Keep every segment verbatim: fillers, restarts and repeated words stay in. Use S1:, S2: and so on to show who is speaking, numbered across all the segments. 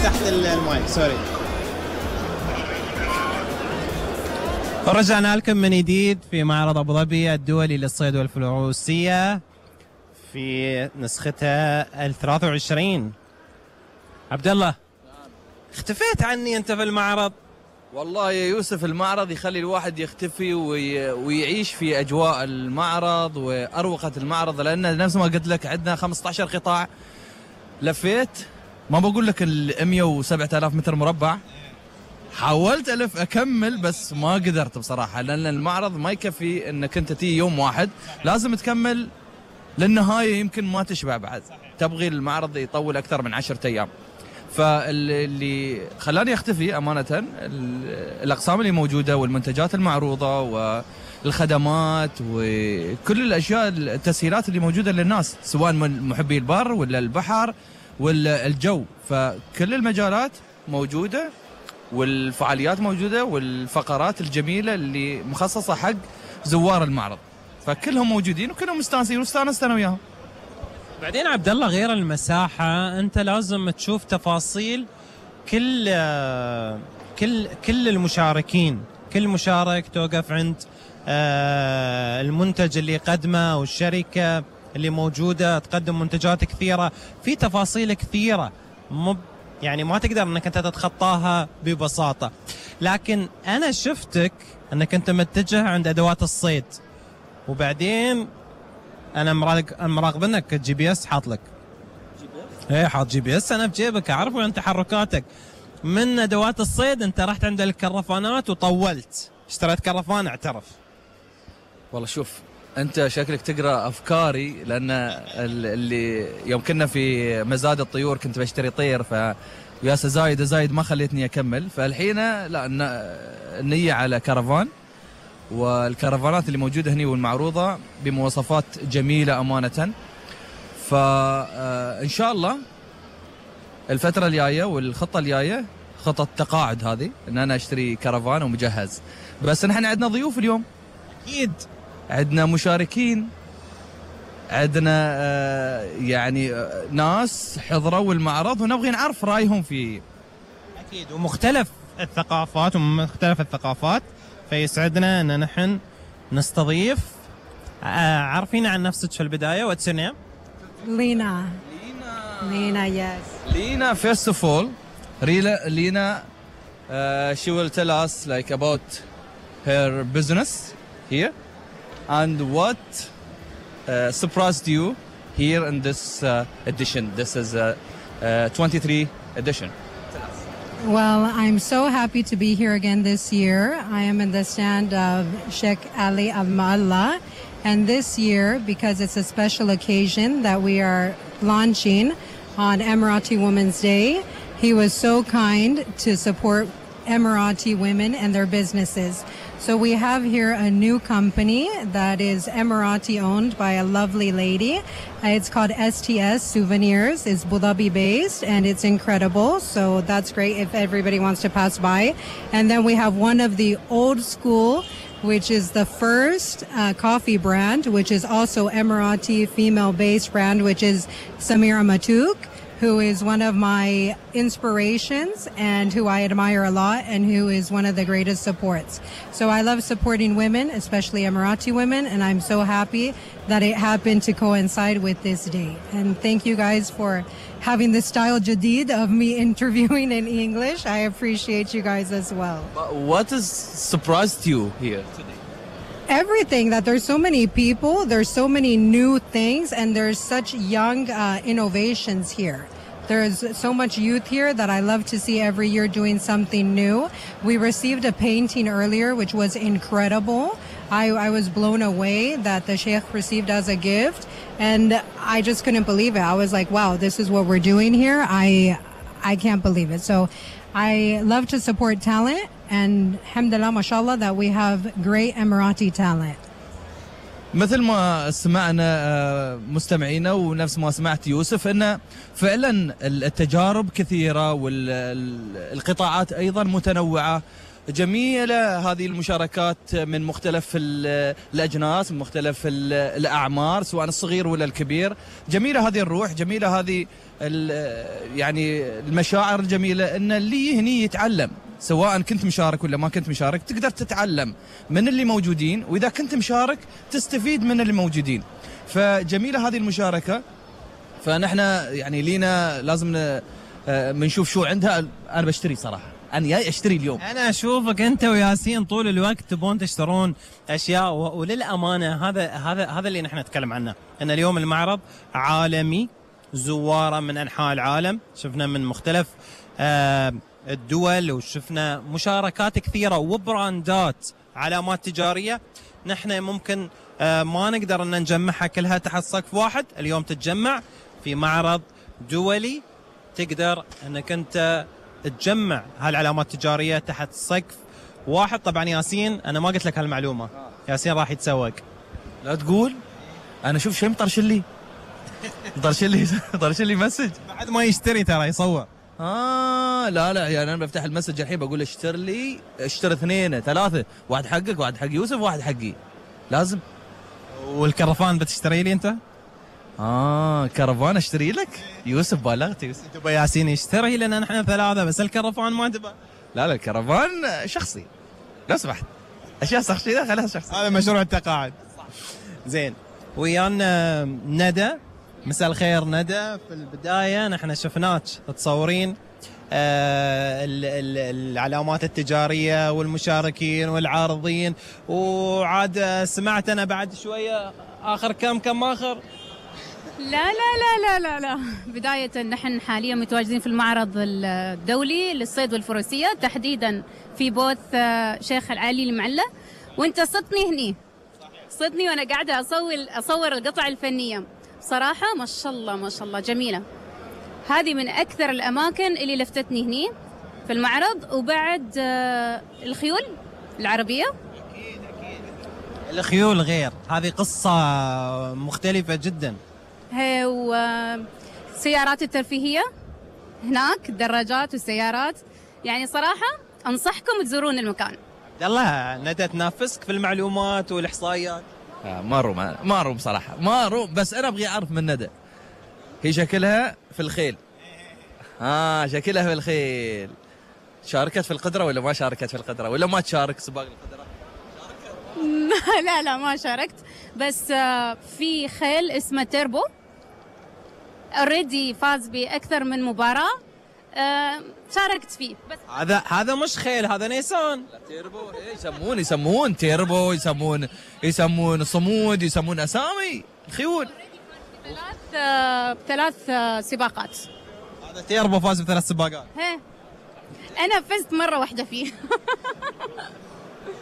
S1: تحت المايك. سوري. رجعنا لكم من جديد في معرض أبو ظبي الدولي للصيد والفروسية في نسختها الثلاثة وعشرين. عبد الله، اختفيت عني أنت في المعرض.
S2: والله يا يوسف المعرض يخلي الواحد يختفي وي... ويعيش في أجواء المعرض وأروقة المعرض، لأن نفس ما قلت لك عندنا خمسة عشر قطاع. لفيت ما بقول لك ال مئة وسبعة آلاف متر مربع، حاولت ألف أكمل بس ما قدرت بصراحة، لأن المعرض ما يكفي أنك أنت تيجي يوم واحد، لازم تكمل للنهاية، يمكن ما تشبع بعد، تبغي المعرض يطول أكثر من عشرة أيام. فاللي خلاني أختفي أمانة الأقسام اللي موجودة والمنتجات المعروضة والخدمات وكل الأشياء التسهيلات اللي موجودة للناس، سواء من محبي البر ولا البحر ولا الجو، فكل المجالات موجودة والفعاليات موجودة والفقرات الجميلة اللي مخصصة حق زوار المعرض، فكلهم موجودين وكلهم مستانسين واستانست أنا وياهم.
S1: بعدين عبد الله، غير المساحة أنت لازم تشوف تفاصيل كل كل كل المشاركين، كل مشارك توقف عند المنتج اللي قدمه والشركة اللي موجودة تقدم منتجات كثيرة، في تفاصيل كثيرة مب يعني ما تقدر انك انت تتخطاها ببساطة. لكن انا شفتك انك انت متجه عند ادوات الصيد، وبعدين انا مراقب انك الجي بي اس حاط لك. جي بي اس؟ ايه حاط جي بي اس انا بجيبك، اعرف وين تحركاتك. من ادوات الصيد انت رحت عند الكرفانات وطولت، اشتريت كرفان اعترف.
S2: والله شوف انت شكلك تقرا افكاري، لان اللي يوم كنا في مزاد الطيور كنت بشتري طير، ف ياسا زايد زايد ما خليتني اكمل، فالحين لا النية على كرفان، والكرفانات اللي موجوده هنا والمعروضه بمواصفات جميله امانه. فان شاء الله الفتره الجايه والخطه الجايه خطه تقاعد هذه، ان انا اشتري كرفان ومجهز. بس نحن عندنا ضيوف اليوم،
S1: اكيد
S2: عندنا مشاركين، عندنا آه يعني آه ناس حضروا المعرض ونبغي نعرف رايهم فيه.
S1: اكيد، ومختلف الثقافات ومختلف الثقافات، فيسعدنا ان نحن نستضيف. آه عارفين عن نفسك في البدايه؟ واتس يور نيم؟
S3: لينا.
S2: لينا.
S3: لينا yes.
S2: لينا first of all, Rila, Lina uh, she will tell us like about her business here and what uh, surprised you here in this uh, edition. This is a uh, uh, twenty-three edition.
S3: Well, I'm so happy to be here again this year. I am in the stand of Sheikh Ali Al Ma'alla, and this year, because it's a special occasion that we are launching on Emirati Women's Day, he was so kind to support Emirati women and their businesses. So we have here a new company that is Emirati owned by a lovely lady. Uh, it's called S T S Souvenirs. It's Abu Dhabi based and it's incredible. So that's great if everybody wants to pass by. And then we have one of the old school, which is the first uh, coffee brand, which is also Emirati female based brand, which is Samira Matouk, who is one of my inspirations and who I admire a lot and who is one of the greatest supports. So I love supporting women, especially Emirati women, and I'm so happy that it happened to coincide with this day. And thank you guys for having the style jadid of me interviewing in English. I appreciate you guys as well.
S2: What has surprised you here today?
S3: Everything, that there's so many people, there's so many new things, and there's such young uh, innovations here. There's so much youth here that I love to see every year doing something new. We received a painting earlier, which was incredible. I, I was blown away that the Sheikh received as a gift, and I just couldn't believe it. I was like, wow, this is what we're doing here. I, I can't believe it. So I love to support talent, and alhamdulillah, mashallah, that we have great Emirati talent.
S2: مثل ما سمعنا مستمعينا ونفس ما سمعت يوسف، ان فعلا التجارب كثيره والقطاعات ايضا متنوعه، جميلة هذه المشاركات من مختلف الأجناس، من مختلف الأعمار، سواء الصغير ولا الكبير. جميلة هذه الروح، جميلة هذه يعني المشاعر الجميلة، أن اللي هني يتعلم، سواء كنت مشارك ولا ما كنت مشارك تقدر تتعلم من اللي موجودين، وإذا كنت مشارك تستفيد من اللي موجودين. فجميلة هذه المشاركة. فنحن يعني لينا لازم بنشوف شو عندها. أنا بشتري صراحة، أنا جاي أشتري اليوم.
S1: أنا أشوفك أنت وياسين طول الوقت تبون تشترون أشياء، وللأمانة هذا هذا هذا اللي نحن نتكلم عنه، أن اليوم المعرض عالمي، زواره من أنحاء العالم، شفنا من مختلف آه الدول، وشفنا مشاركات كثيرة وبراندات، علامات تجارية نحن ممكن آه ما نقدر أن نجمعها كلها تحت سقف واحد. اليوم تتجمع في معرض دولي، تقدر أنك أنت تجمع هالعلامات التجارية تحت سقف واحد. طبعا ياسين أنا ما قلت لك هالمعلومة، ياسين راح يتسوق.
S2: لا تقول، أنا شوف شيء مطرش لي مطرش لي مطرش لي مسج
S1: بعد ما يشتري ترى يصور.
S2: آه لا لا يعني أنا بفتح المسج الحين بقول اشتر لي، اشتر اثنين ثلاثة، واحد حقك واحد حق يوسف واحد حقي لازم.
S1: والكرفان بتشتري لي أنت؟
S2: آه كرفان اشتري لك؟ يوسف بالغت يوسف.
S1: تبى ياسين يشتري لنا نحن ثلاثة بس الكرفان ما تبى؟
S2: لا لا الكرفان شخصي لو سمحت، أشياء شخصية خليها شخصي.
S1: هذا مشروع التقاعد. زين، ويانا ندى. مساء الخير ندى. في البداية نحن شفناك تصورين آه العلامات التجارية والمشاركين والعارضين، وعاد سمعت أنا بعد شوية آخر كم كم آخر.
S4: لا لا لا لا لا لا بداية نحن حاليا متواجدين في المعرض الدولي للصيد والفروسية، تحديدا في بوث شيخ العالي المعلة، وانت صدتني هني، صدني وانا قاعدة اصور اصور القطع الفنية. صراحة ما شاء الله ما شاء الله جميلة. هذه من اكثر الاماكن اللي لفتتني هني في المعرض. وبعد الخيول العربية،
S1: اكيد اكيد الخيول غير، هذه قصة مختلفة جدا.
S4: هي وسيارات الترفيهية هناك، الدراجات والسيارات، يعني صراحة أنصحكم تزورون المكان.
S1: يلا ندى تنافسك في المعلومات والإحصائيات.
S2: آه ما روم ما روم صراحة ما روم، بس أنا أبغي أعرف من ندى هي شكلها في الخيل. آه شكلها في الخيل. شاركت في القدرة ولا ما شاركت في القدرة ولا ما تشارك سباق القدرة؟
S4: لا لا ما شاركت، بس في خيل اسمه تيربو اوريدي فاز باكثر من مباراه، شاركت فيه. بس
S1: هذا هذا مش خيل، هذا نيسان.
S2: لا تيربو ايه يسمون يسمون تيربو، يسمون يسمون صمود، يسمون اسامي الخيول.
S4: ثلاث ثلاث سباقات.
S1: هذا تيربو فاز بثلاث سباقات.
S4: هي انا فزت مره واحده فيه.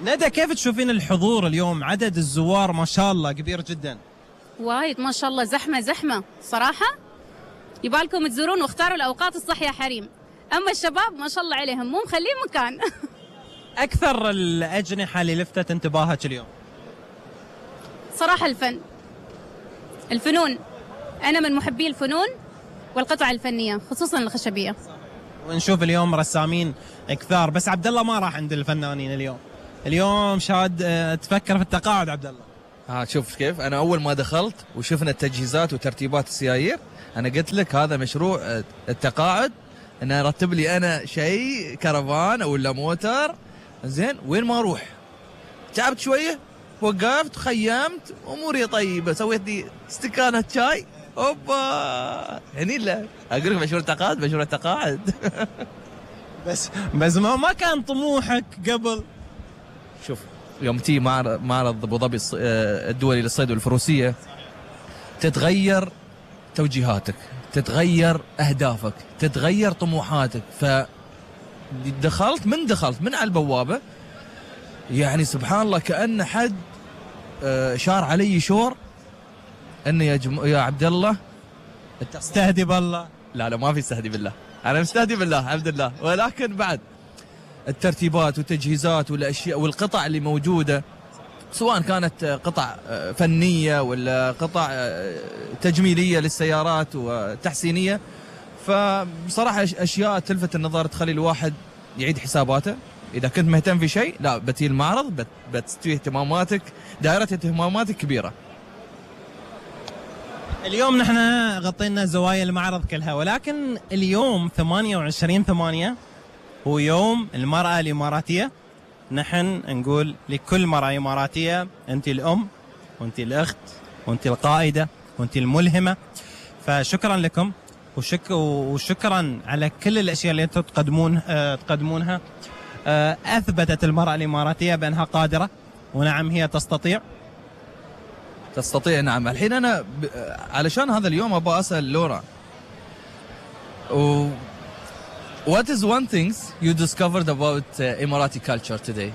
S1: ندى كيف تشوفين الحضور اليوم؟ عدد الزوار ما شاء الله كبير جدا.
S4: وايد ما شاء الله، زحمه زحمه صراحه. يبالكم تزورون واختاروا الاوقات الصح يا حريم. اما الشباب ما شاء الله عليهم مو مخلين مكان.
S1: اكثر الاجنحه اللي لفتت انتباهك اليوم؟
S4: صراحه الفن، الفنون. انا من محبي الفنون والقطع الفنيه خصوصا الخشبيه.
S1: ونشوف اليوم رسامين كثار، بس عبد الله ما راح عند الفنانين اليوم. اليوم شاد تفكر في التقاعد عبد الله.
S2: ها شوف كيف انا اول ما دخلت وشفنا التجهيزات وترتيبات السيايير، انا قلت لك هذا مشروع التقاعد، ان ارتب لي انا شيء كرفان ولا موتر. زين وين ما اروح تعبت شويه، وقفت خيمت اموري طيبه، سويت لي استكانه شاي اوبا هني. لا اقول لك مشروع التقاعد مشروع التقاعد.
S1: بس بس ما, ما كان طموحك قبل؟
S2: شوف يوم تي معرض ابو ظبي الدولي للصيد والفروسيه تتغير توجيهاتك، تتغير اهدافك، تتغير طموحاتك. فدخلت من دخلت من على البوابه يعني سبحان الله كأن حد شار علي شور انه يا جم... يا عبد الله
S1: استهدي بالله.
S2: لا لا ما في استهدي بالله، انا مستهدي بالله الحمد لله. ولكن بعد الترتيبات والتجهيزات والاشياء والقطع اللي موجوده، سواء كانت قطع فنيه ولا قطع تجميليه للسيارات وتحسينيه، فبصراحه اشياء تلفت النظر تخلي الواحد يعيد حساباته اذا كنت مهتم في شيء لا بتي المعرض بت بتستوي اهتماماتك، دائره اهتماماتك كبيره.
S1: اليوم نحن غطينا زوايا المعرض كلها، ولكن اليوم ثمانية وعشرين ثمانية هو يوم المرأة الإماراتية. نحن نقول لكل مرأة إماراتية أنت الأم وأنت الأخت وأنت القائدة وأنت الملهمة، فشكرا لكم وشك وشكرا على كل الأشياء اللي أنتم تقدمون آه تقدمونها. آه أثبتت المرأة الإماراتية بأنها قادرة، ونعم هي تستطيع
S2: تستطيع نعم. الحين أنا ب... علشان هذا اليوم أبغى أسأل لورا و... What is one thing you discovered about uh, Emirati culture today?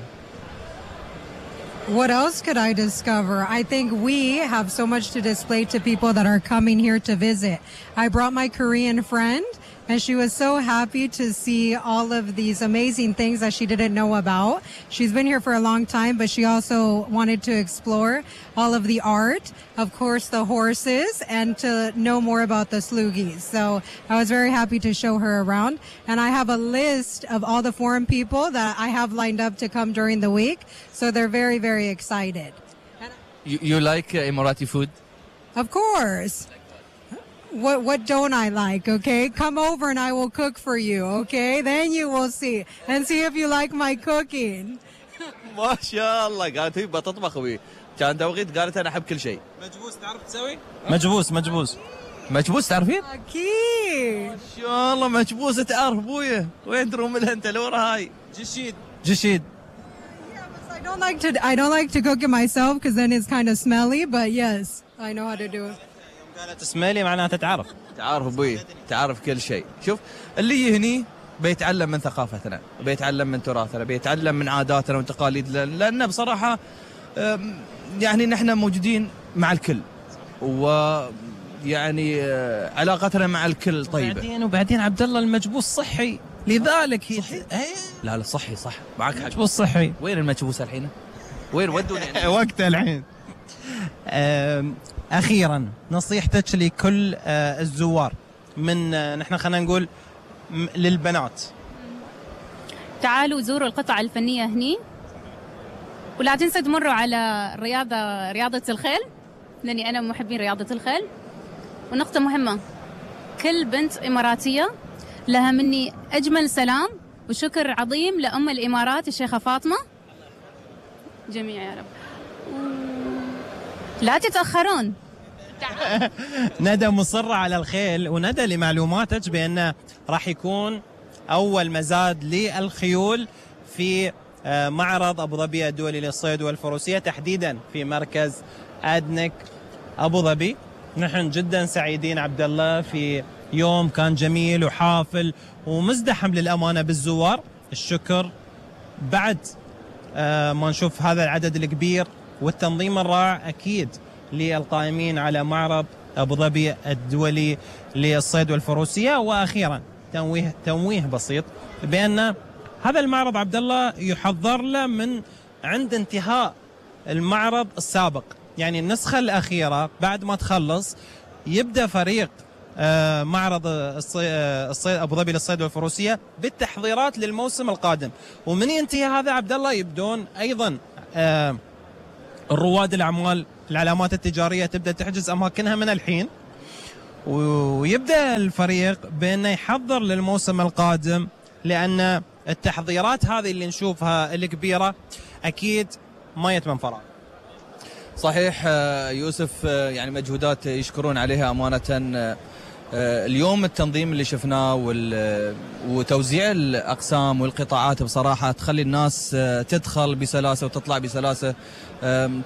S3: What else could I discover? I think we have so much to display to people that are coming here to visit. I brought my Korean friend, and she was so happy to see all of these amazing things that she didn't know about. She's been here for a long time, but she also wanted to explore all of the art, of course, the horses, and to know more about the slugis. So I was very happy to show her around. And I have a list of all the foreign people that I have lined up to come during the week. So they're very, very excited.
S2: You, you like uh, Emirati food?
S3: Of course. What what don't I like, okay? Come over and I will cook for you, okay? Then you will see. And see if you like my cooking.
S2: ما شاء الله قالت هي بتطبخ وي. كان توقيت قالت أنا أحب كل شيء.
S1: مجبوس تعرف تسوي؟ مجبوس مجبوس
S2: مجبوس تعرفين؟
S3: أكيد.
S2: ما شاء الله مجبوس تعرف أبويا. وين تروم لها أنت لورا هاي؟
S1: جشيد جشيد.
S3: I don't like to I don't like to cook it myself because then it's kind of smelly, but yes, I know how to do it.
S1: قالت اسمالي معناتها تعرف.
S2: تعرف أبوي تعرف كل شيء. شوف اللي هني بيتعلم من ثقافتنا، بيتعلم من تراثنا، بيتعلم من عاداتنا وتقاليدنا، لأن بصراحة يعني نحن موجودين مع الكل، ويعني علاقتنا مع الكل طيبة.
S1: وبعدين وبعدين عبد الله المجبوس صحي، لذلك هي
S2: صحي؟ لا لا صحي صح معك حق.
S1: مجبوس صحي.
S2: وين المجبوس الحين؟ وين ودوا يعني؟
S1: وقته الحين. أخيرا نصيحتك لكل الزوار من نحن خلينا نقول للبنات.
S4: تعالوا زوروا القطع الفنية هني، ولا تنسوا تمروا على رياضة رياضة الخيل، لأني أنا محبين رياضة الخيل. ونقطة مهمة، كل بنت إماراتية لها مني أجمل سلام وشكر عظيم لأم الإمارات الشيخة فاطمة جميع يا رب. لا تتأخرون.
S1: ندى مصرة على الخيل، وندى لمعلوماتك بأنه راح يكون أول مزاد للخيول في معرض أبو ظبي الدولي للصيد والفروسية، تحديدا في مركز أدنك أبو ظبي. نحن جدا سعيدين عبد الله في يوم كان جميل وحافل ومزدحم للأمانة بالزوار. الشكر بعد ما نشوف هذا العدد الكبير والتنظيم الرائع أكيد للقائمين على معرض أبو ظبي الدولي للصيد والفروسية. وأخيرا تنويه تنويه بسيط بأن هذا المعرض عبد الله يحضر له من عند انتهاء المعرض السابق، يعني النسخة الأخيرة بعد ما تخلص يبدأ فريق معرض الصيد أبو ظبي للصيد والفروسية بالتحضيرات للموسم القادم. ومن ينتهي هذا عبد الله يبدون أيضا الرواد الأعمال العلامات التجارية تبدأ تحجز أماكنها من الحين، ويبدأ الفريق بأنه يحضر للموسم القادم، لأن التحضيرات هذه اللي نشوفها الكبيرة أكيد ما يتم فراغ.
S2: صحيح يوسف، يعني مجهودات يشكرون عليها أمانة. اليوم التنظيم اللي شفناه وتوزيع الأقسام والقطاعات بصراحة تخلي الناس تدخل بسلاسة وتطلع بسلاسة.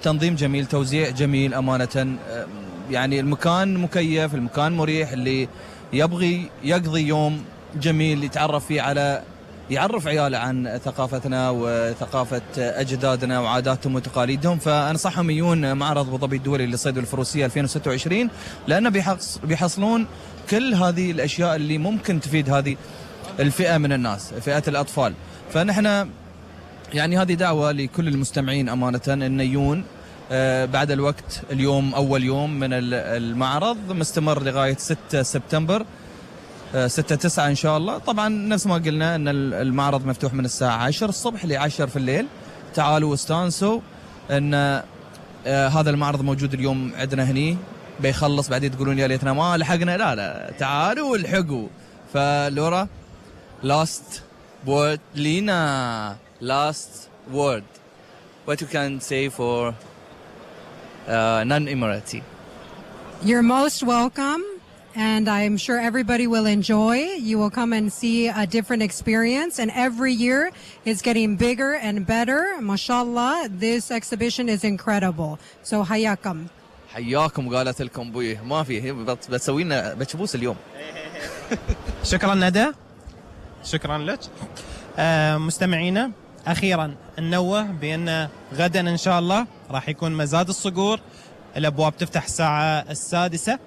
S2: تنظيم جميل، توزيع جميل أمانة. يعني المكان مكيف، المكان مريح، اللي يبغي يقضي يوم جميل يتعرف فيه على يعرف عياله عن ثقافتنا وثقافة أجدادنا وعاداتهم وتقاليدهم. فأنصحهم يجون معرض أبو ظبي الدولي للصيد والفروسية ألفين وستة وعشرين، لأنه بيحصلون كل هذه الأشياء اللي ممكن تفيد هذه الفئة من الناس، فئة الأطفال. فنحن يعني هذه دعوة لكل المستمعين أمانة أن يجون بعد الوقت. اليوم أول يوم من المعرض مستمر لغاية ستة سبتمبر. ستة تسعة إن شاء الله. طبعا نفس ما قلنا أن المعرض مفتوح من الساعة عشرة الصبح ل عشرة في الليل. تعالوا واستانسوا أن آه هذا المعرض موجود اليوم عندنا هني، بيخلص بعدين تقولون يا ليتنا ما لحقنا. لا لا، تعالوا والحقوا. فلورا last word لينا last word what you can say for uh, non-Emirati.
S3: You're most welcome, and I'm sure everybody will enjoy. You will come and see a different experience, and every year it's getting bigger and better. MashaAllah, this exhibition is incredible. So hayakum.
S2: حياكم. قالت لكم بويه ما في، بتسوي لنا بتشبوس اليوم.
S1: شكرا ندى، شكرا لك. آه مستمعينا، أخيرا ننوه بأن غدا إن شاء الله راح يكون مزاد الصقور. الأبواب تفتح الساعة السادسة،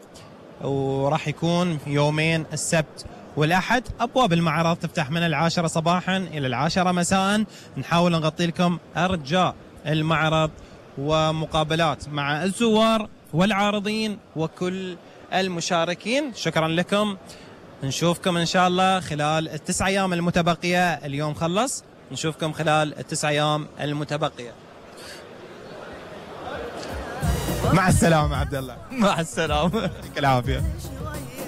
S1: وراح يكون يومين السبت والأحد. أبواب المعرض تفتح من العاشرة صباحا إلى العاشرة مساء. نحاول نغطي لكم أرجاء المعرض ومقابلات مع الزوار والعارضين وكل المشاركين. شكرا لكم. نشوفكم إن شاء الله خلال التسع أيام المتبقية. اليوم خلص، نشوفكم خلال التسع أيام المتبقية. مع السلامة عبد الله.
S2: مع السلامة.
S1: يعطيك العافية.